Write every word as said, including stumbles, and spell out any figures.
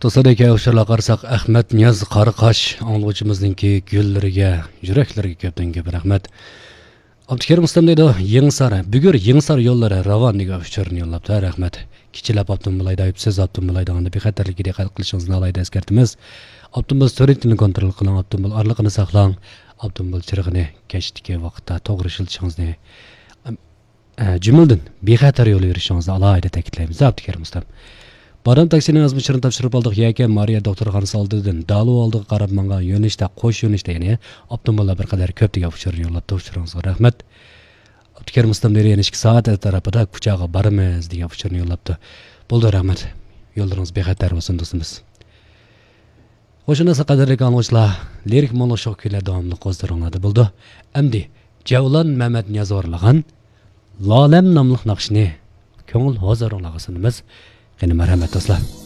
دوستلار، ئۇچۇرلارغا قارىساق، ئەخمەت نىياز قاراقاش ئاڭلىغۇچىمىزنىڭكى گۈللىرىگە، يۈرەكلىرىگە كۆپتىن كۆپ رەھمەت. ئابدۇكېرىم ئۇستام دەيدۇ، يېڭىسار، بۈگۈر يېڭىسار يوللىرى راۋان دېگەن ئۇچۇرنى يوللاپتۇ. رەھمەت. كېچىلەپ ئاپتوموبىل ھەيدەپ، سىز ئاپتوموبىل ھەيدىغاندا بىخەتەرلىككە دىققەت قىلىشىڭىزنى ئالاھىدە ئەسكەرتىمىز. ئاپتوموبىل سۈرئىتىنى كونترول قىلىڭ، ئاپتوموبىل ئارىلىقىنى ساقلاڭ، ئاپتوموبىل چىرىغىنى كەچتىكى ۋاقىتتا توغرا ئىشلىتىشىڭىزنى، ئە، جۈملىدىن بىخەتەر يول يۈرۈشىڭىزنى ئالاھىدە تەكىتلەيمىز، ئابدۇكېرىم ئۇستام. بارام تاكسىنىڭ يازما ئۇچۇرىنى تاپشۇرۇپ ئالدۇق. يەكەن مارىيا دوختۇرخانىسى ئالدىدىن دالۇ ئالدىغا قاراپ ماڭغان يۆنىلىشتە، قوش يۆنىلىشتە، يەنى ئاپتوموبىللار بىر قەدەر كۆپ دېگەن ئۇچۇرنى يوللاپتۇ. ئۇچۇرىڭىزغا رەھمەت. ئابدۇكېرىم ئۇستام دېدى، يەنە ئىككى سائەت ئەتراپىدا كۇچاغا بارىمىز دېگەن ئۇچۇرنى يوللاپتۇ. بولدى، رەھمەت. يوللىرىڭىز بىخەتەر بولسۇن، دوستىمىز. خوش، ئۇنداقتا قەدىرلىك ئاڭلىغۇچىلار، لىرىك مۇڭلۇق شوخ كۈيلەر داۋاملىق ھۇزۇرۇڭلاردا بولىدۇ. ئەمدى جەۋلان مەمەت نىياز ئورۇنلىغان لالەم ناملىق ناخشىنى كۆڭۈل ھۇزۇرۇڭلارغا سۇنىمىز. قېنى، مەرھەمەت، دوستلار.